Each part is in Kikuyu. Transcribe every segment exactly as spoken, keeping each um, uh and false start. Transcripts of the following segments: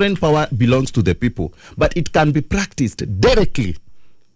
Sovereign power belongs to the people, but it can be practiced directly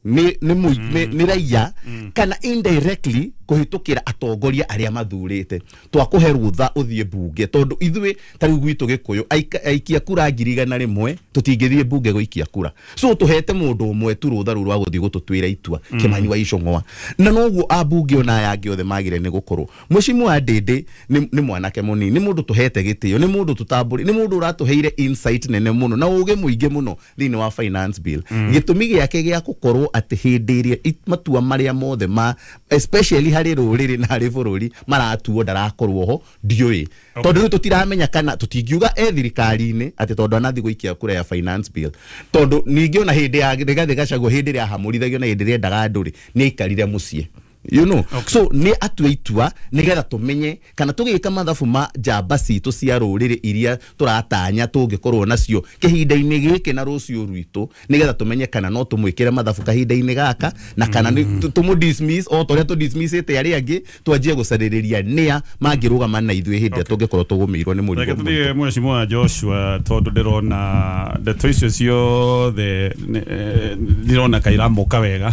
nĩ nĩ mũi- nĩ nĩ raia kana indirectly kũhĩtũkĩra atongoria arĩa mathurĩte. Twakũhe rũtha ũthiĩ mbunge, tondũ ithuĩ ta rĩu gwitũ Gĩkũyũ aika- aikia kura ngiri igana rĩmwe tũtingĩthiĩ mbunge gũikia kura, so tũhete mũndũ ũmwe tu rũtha rũu rwa gũthiĩ gũtũtuĩra itua, Kĩmani wa Icũng'wa. Na noguo ambunge ona aya angĩ othe magĩrĩire nĩ gũkorwo. Mheshimiwa Ndĩndĩ nĩ nĩ mwanake mũnini, nĩ mũndũ tũhete gĩtĩo, nĩ mũndũ tũtambũri, nĩ mũndũ ũratũheire insight nene mũno na ũgĩ mũingĩ mũno thĩinĩ wa finance bill. Gĩtũmi gĩake gĩa gũkorwo atĩ hĩndĩ ĩrĩa it- matua marĩa mothe ma especially harĩ rũrĩrĩ na harĩ bũrũri maratuo ndarakorwo ho, ndiũĩ, tondũ rĩu tũtiramenya kana tũtingiuga e thirikari-inĩ atĩ tondũ anathi gũikia kura ya finance bill, tondũ ningĩ ona hĩndĩ ya Rigathĩ Gachagua, hĩndĩ ĩrĩa ahamũrithagio na hĩndĩ ĩrĩa endaga andũ rĩ, nĩ aikarire mũciĩ you know okay. So nĩ atue itua nĩgetha tũmenye kana tũgĩka mathabu ma njamba citũ cia rũrĩrĩ iria tũratanya tũngĩkorwo nacio kĩhinda-inĩ gĩkĩ na rũciũ rwitũ, nĩgetha tũmenye kana no tũmwĩkĩre mathabu kahinda-inĩ gaka na kana nĩ tũ- tũmũ dismiss o ta ũrĩa tũ dismissĩte arĩa angĩ, twanjie gũcarĩrĩria nĩa mangĩrũgama na ithuĩ hĩndĩ ĩrĩa tũngĩkorwo tũgũmĩirwo nĩ mũrigo Reke mũritũ. Tũthiĩ Mheshimiwa Joshua, tondũ ndĩrona ndeto icio ciothe nĩ- eh, ndĩrona kairamũka wega.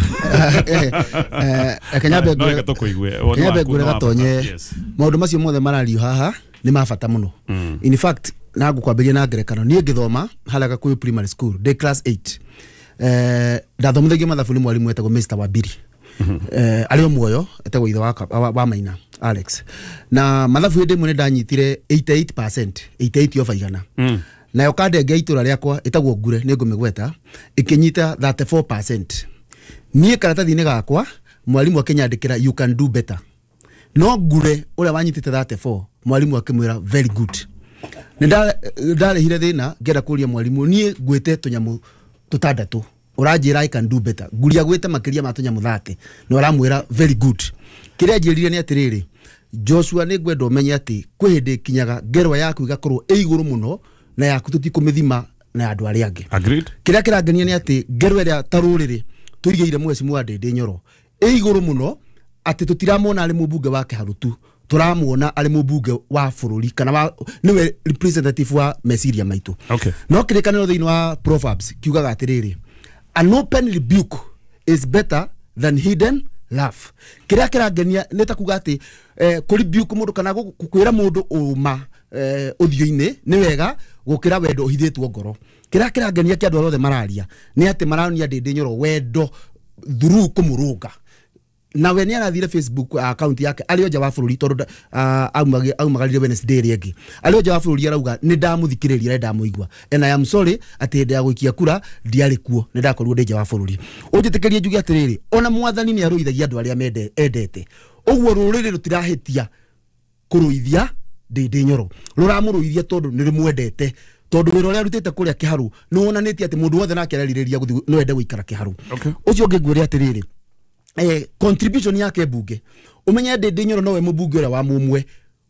Reke nyambe No ngwĩre- reke tũkũigue. Woni nyambe waku ngwĩre nĩ wa bata. gatonye. Yes. Maũndũ macio mothe marario haha nĩ ma bata mũno. In fact, na ngũkwambĩria na ngerekano. Niĩ ngĩthoma harĩa Gakuyu Primary School ndĩ class eight, eh, ndathomithagio mathabu nĩ mwarimũ etagwo Mister Wambiri, eh, arĩ o muoyo, etagwo ithe wa, wa, wa Maina Alex. Na mathabu hĩndĩ ĩmwe nĩ ndanyitire eighty-eight percent, eighty-eight over igana. mm. Nayo kandenge ya itũra rĩakwa ĩtagwo Ngure, nĩ ngũmĩgweta, ĩkĩnyita thirty-four percent. Niĩ karatathi-inĩ gakwa mwarimũ akĩnyandĩkĩra "You can do better", no Ngure ũrĩa wanyitĩte thirty-four mwarimũ akĩmwĩra "Very good". Nĩ nda- ndarĩhire thĩna ngĩenda kũria mwarimũ, niĩ ngwĩte tũnyamũ tũtandatũ, ũranjĩra "I can do better", nguria gwĩte makĩria ma tũnyamũ thirty na ũramwĩra "Very good". Kĩrĩa njĩrire nĩ atĩrĩrĩ, Joshua, nĩ ngwenda ũmenye atĩ kwĩ hĩndĩ ĩkinyaga ngerwa yaku ĩgakorwo ĩ igũrũ mũno na yaku tũtikũmĩthima na andũ arĩa angĩ. Agreed. Kĩrĩa kĩrangenia nĩ atĩ ngerwa ĩrĩa ta rũrĩrĩ tũigĩire Mheshimiwa Ndĩndĩ Nyoro ĩ igũrũ mũno atĩ tũtiramwona arĩ mũmbunge wa Kĩharu tu, tũramuona arĩ mũmbunge wa bũrũri kana wa nĩwe representative wa meciria maitũ. Okay. No kĩrĩkanĩro thĩinĩ wa Proverbs kiugaga atĩrĩrĩ, "An open rebuke is better than hidden love." Kĩrĩa kĩrangenia nĩ ta kuga atĩ eh, kũ rebuke mũndũ kana gũ- kwĩra mũndũ ũma eh, ũthiũ-inĩ nĩ wega gũkĩra wendo ũhithĩtwo ngoro. Kĩrĩa kĩrangenia kĩa andũ arĩa othe mararia nĩ atĩ maronia Ndĩndĩ Nyoro wendo through kũmũrũnga. Na we nĩ arathire Facebook account yake arĩ o nja wa bũrũri, tondũ nda- ah, aumagi- aumagarire Wednesday ĩrĩa ĩngĩ arĩ o nja wa bũrũri, arauga nĩ ndamũthikĩrĩria na ndamũigua and I am sorry atĩ hĩndĩ ya gũikia kura ndiarĩ kuo, nĩ ndakorirwo ndĩ nja wa bũrũri. Ũnjĩtĩkĩrie njuge atĩrĩrĩ, ona mwathani nĩ arũithagia andũ arĩa mende- endete. Ũguo rũrĩrĩ rũtirahĩtia kũrũithia Ndĩndĩ Nyoro, rũramũrũithia tondũ nĩ rũmwendete, tondũ wĩra ũrĩa arutĩte kũrĩa Kĩharu nĩ wonanĩtie atĩ mũndũ wothe nake arerirĩria gũthiĩ no ende gũikara Kĩharu. Okay. Ũcio ũngĩ ngwĩre atĩrĩrĩ, eh, contribution yake mbunge, ũmenye Ndĩndĩ Nyoro nowe mũmbunge ũrĩa wa mũmwe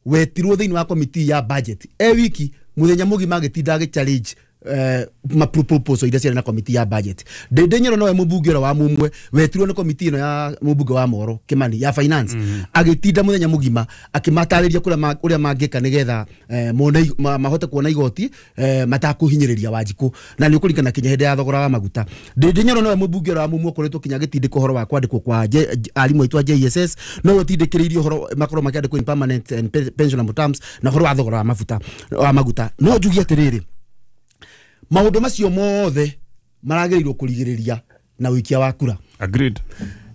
wetirwo thĩinĩ wa committee ya budget e wiki mũthenya mũgima agĩtinda agĩ challenge eh, ma proposal iria ciarĩ na committee ya budget. Ndĩndĩ Nyoro nowe mũmbunge ũrĩa wa mũmwe wetirwo nĩ committee ĩno ya mũmbunge wa Moro Kimani ya finance, mm -hmm. agĩtinda mũthenya mũgima akĩmatarĩria kũrĩa ma- ũrĩa mangĩka nĩgetha eh, mone ma, mahote kuona igoti eh, matakũhinyĩrĩria Wanjikũ, na nĩ ũkũringana kinya hĩndĩ ya thogora wa maguta. Ndĩndĩ Nyoro nowe mũmbunge ũrĩa wa mũmwe ũkoretwo kinya agĩtindĩka ũhoro wa kwandĩkwo kwa J- J- arimũ aitũ a J S S, nowe ũtindĩkĩrĩirie ũhoro makorwo makĩandĩkwo in permanent and pe- pensionable terms, na ũhoro wa thogora wa mafuta wa maguta. No njugie atĩrĩrĩ, maũndũ macio mothe maragĩrĩirwo kũrigĩrĩria na ũikia wa kura. Agreed.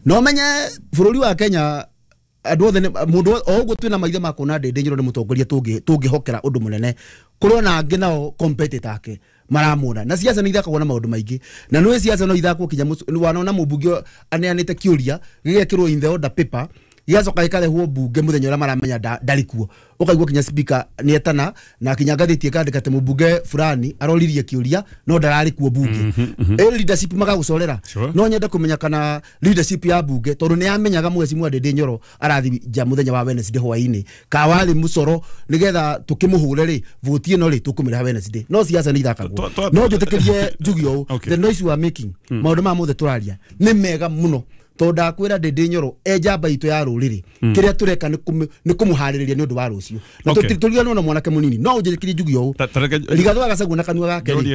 No menye bũrũri wa Kenya andũ othe nĩ- mũndũ o ũguo twĩna maitho ma kuona Ndĩndĩ Nyoro nĩ mũtongoria tũngĩ- tũngĩhokera ũndũ mũnene, kũrĩ ona angĩ nao competitor ake maramuona. Na siasa nĩ ithakagwo na maũndũ maingĩ, na nĩũĩ siasa no ithakwo kinya mũc- wanona mũmbunge aneanĩte kĩũria gĩgekĩrwo in the order paper, gĩgacoka gĩkarehwo mbunge mũthenya ũrĩa maramenya nda- ndarĩ kuo, ũkaigua kinya speaker nĩetana na kinya ngathĩti ĩkandĩka atĩ mũmbunge fulani aroririe kĩũria no ndararĩ kuo mbunge. Ĩ leadership magagũcorera. Sure. No nyende kũmenya kana leadership ya mbunge, tondũ nĩ yamenyaga Mheshimiwa Ndĩndĩ Nyoro arathi nja mũthenya wa Wednesday hwaĩ-inĩ, ka warĩ mũcoro nĩgetha tũkĩmũhũre rĩ voti ĩno rĩ tũkũmĩreha Wednesday. No siasa nĩ ithakagwo. Twa- twa- No njĩtĩkĩrie njuge ũũ, Okay. the noise we are making, maũndũ maya mothe tũraria nĩ mega mũno, Tondũ ndakwĩra, Ndĩndĩ Nyoro e njamba itũ ya rũrĩrĩ, kĩrĩa tũreka nĩ kũmũ- nĩ kũmũharĩrĩria nĩ ũndũ wa rũciũ na Okay. tũtiriganwo na mwanake mũnini. No ũnjĩkĩrie njugi ũũ Ta- ta reke- Rigathĩ wa Gachagua na kanua gake rĩ Njũrie.